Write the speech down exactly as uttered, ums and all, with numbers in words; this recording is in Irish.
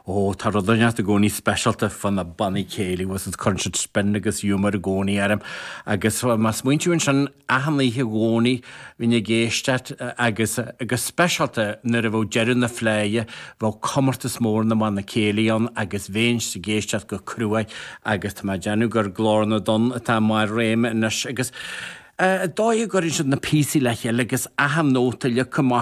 Ó tá rud inteacht i gcónaí speisialta fá na bannaí céilí was cuireann siad spin agus humour i gcónaí orm agus má smaointíonn sin achan oíche Dhomhnaigh bhínn ag éisteacht agus agus speisialta nuair a bheadh deireadh na Fleidhe bheadh comórtas mór na mbannaí céilí ann agus bhínn ag éisteacht go crua agus tá mé ag déanamh gur Glór na dTonn atá mar réim anois agus dóigh a gcuireann siad na píosaí le chéile agus achan nóta le cumá